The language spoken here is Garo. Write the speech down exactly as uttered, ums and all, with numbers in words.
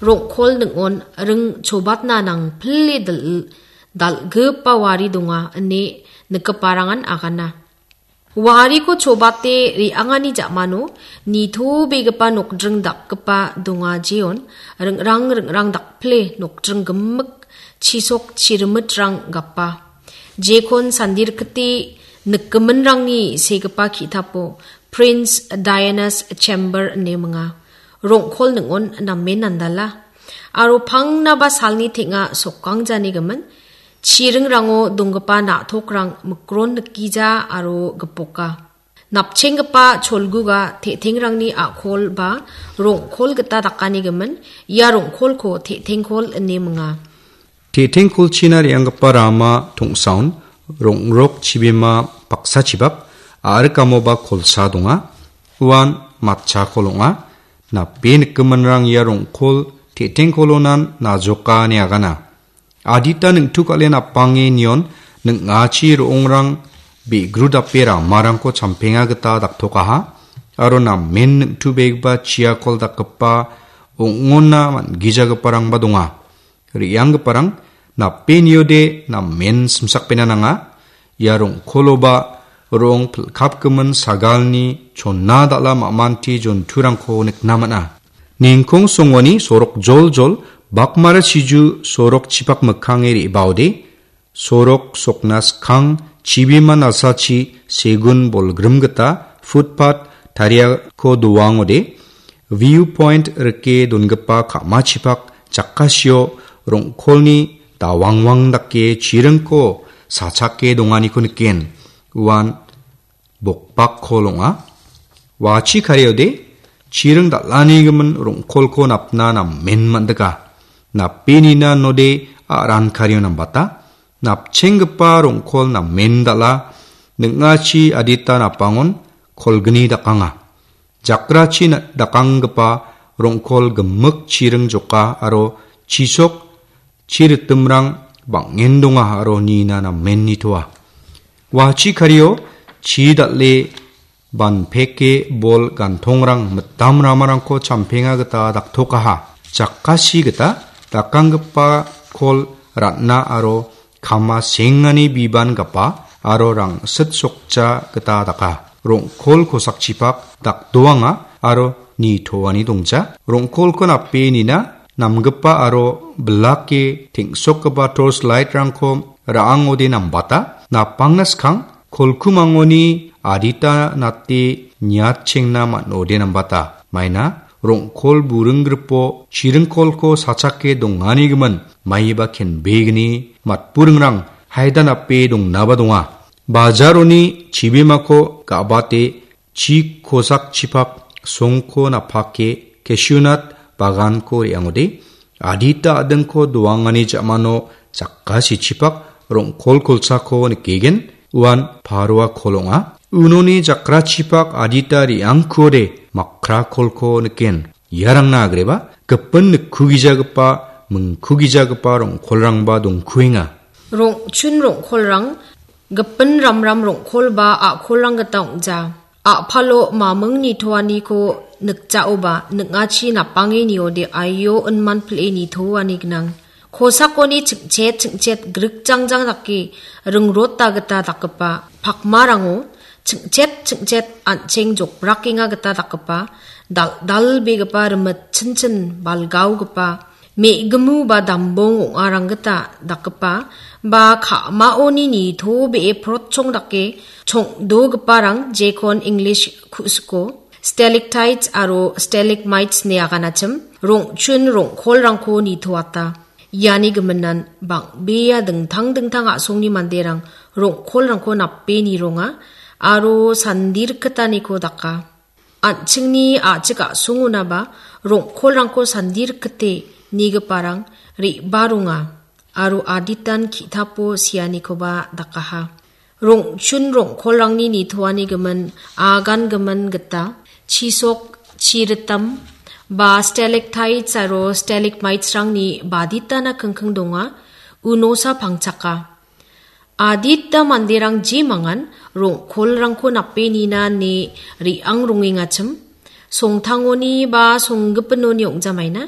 rong·kol ning·on ring chobatna nangpile dal-, dal·gipa wari donga ine nikgiparangan agana. Wariko chobate re·angani ja·mano nitobegipa nokdring dakgipa donga jeon ringrang ringrang dakpile nokdring gimik chisok chirimitrang gapa. Jekon sandirikite nikgiminrangni segipa ki·tapo Prince Diana's Chamber ine minga. Rong·kol ning·on namen andala. Aro pangnaba salni teng·a sokkangjanigimin, chiringrango donggipa na·tokrang mikron nikgija aro gipoka. Napchenggipa cholguga te·tengrangni a·kol ba rong·kol gita dakanigimin, ia rong·kolko te·tengkol ine minga. Te·tengkolchina re·anggipa rama tongsaon rong·rok chibima paksachibak a·rikamoba kolsa donga. Uan matchakol ong·a. Nape nikgiminrang ia rong·kol te·tengkolonan najoka ine agana. Adita neng·tuk a·le napange nion ning·achi ro·ongrang be·gru dape ramarangko champenga gita daktokaha, aro namen neng·tubegipa chiakol dakgipa ong·ona man·gijagiparangba donga. Re·anggiparang nape niode namen simsakbena nanga. Ia rong·koloba rong pilkapgimin sagalni chonna dal·a ma·manti jonturangko nikna man·a. Ningkong songoni sorok joljol bakmara chiju sorok chipak mikkange re·baode, sorok sokna skang chibima nasachi segun bolgrim gita footpath tariako doangode, view point rike dongipa ka·machipak jakasio rong·kolni dawangwang dake chiringko sachake donganiko niken. Uan bokbak kol ong·a. Wachi kariode chiring dal·anigimin rong·kolko napna namen man·dika. Nape nina node a·ran kario nambata. Napchenggipa rong·kol namen dal·a. Ning·achi adita napangon kolgni dakanga. Jakrachi na-, dakanggipa rong·kol gimik chiring joka aro chisok chiritimrang bang·en donga aro nina namen nitoa. Wachi kario chi dal·e banpeke bol gantongrang mitam ramarangko champenga gita daktokaha. Jakasi gita dakanggipa kol ra·na aro kama sengani biban gapa aro rangsit sokja gita daka. Rong·kol kosakchipak dakdoanga aro nitoani dongja. Rong·kolko nape nina namgipa aro bilake teng·sokgipa torch light-rangko ra·angode nambata. Napangna skang kolkumangoni adita nate niatchengna man·ode nambata. Maina rong·kol buring gripo chiringkolko sachake dongani gimin maiba kenbegni matburingrang haida nape dongnaba donga. Bajaroni chibimako ga·bate chi kosakchipak songko napake cashew nut baganko re·angode adita a·dingko doangani ja·mano jakasichipak rong·kol kolsako nikegen. Uan paroa kol ong·a. Unoni jakrachipak adita re·angkuode makra kolko niken. Iarangna agreba gipin nikkugijagipa, mingkugijagipa rong·kolrangba dongkuenga. Rong·chun rong·kolrang gipin ramram rong·kol ba a·kolrang gita ong·ja. A·palo maming nitoaniko nikjaoba ning·achi napange niode aio inman pil·e nitoani gnang. Kosakoni ching·chet ching·chet grikjangjang dake ringrota gita dakgipa pakmarango ching·chet ching·chet an·cheng jokbrakenga gita dakgipa dal·dalbegipa rimit chinchin balgaogipa me·gimu ba dambong ong·arang gita dakgipa ba ka·maoni nitobee protchong dake chongdogiparang jekon English ku·siko stalactites aro stalagmites ine aganachim rong·chun rong·kolrangko nitoata. Iani giminan bang·bea dingtang dingtang a·songni manderang rong·kolrangko nape nironga aro sandirikgitaniko daka. An·chingni a·chik a·songonaba rong·kolrangko sandirikgite nigiparang re·baronga aro aditan ki·tapo sianikoba dakaha. Rong·chun rong·kolrangni nitoani gimin, agan gimin gita, chisok, chiritam, ba stalactites aro stalagmites-rangni baditana kingking donga, unosa pangchaka. Adita manderang jemangan rong·kolrangko nape nina ine re·ang rongengachim, songtangoni ba songgipinoni ong·jamaina,